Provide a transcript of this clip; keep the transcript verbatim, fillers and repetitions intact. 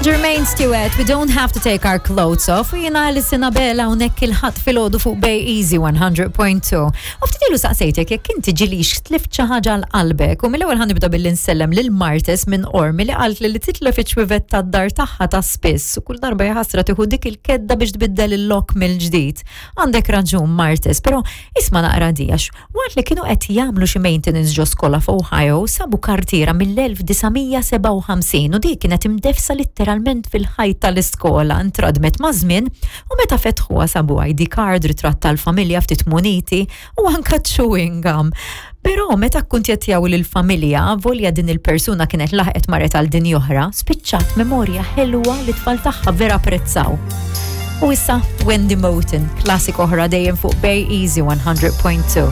Jermaine Stewart, "We Don't Have to Take Our Clothes Off", u jiena Alison Abela hawnhekk il-Ħadd filgħodu fuq Bay Easy one hundred point two. U ftit ilu saqsejtek jekk inti ġilix tlift xi ħaġa għal qalbek u mill-ewwel ħa nibda billi nsellem lil Martes minn Qormi li qalt li li titlef iċ-ċwievet tad-dar tagħha ta' spiss u kull darba jaħasra tieħu dik il-kedda biex tbiddel il-lock mill-ġdid. Għandek raġun, Martes, però isma' naqra di, għax waqt li kienu qed jagħmlu xi maintenance ġo skola f'Ohio sabu kartiera mill-elf disa' mija sebgħa u ħamsin u dik kienet imdefsa letteralment fil-ħajt tal-iskola, intradmet maż-żmien u meta fetħuha sabu I D card, ritratt tal-familja, ftit muniti u anka chewing gum. Però meta kkuntattjaw lill-familja, volja din il-persuna kienet laħqet marret għal din oħra, spiċċat memorja ħelwa li tfal tagħha vera apprezzaw. U issa Wendy Moten, classic oħra dejjem fuq Bay Easy one hundred point two.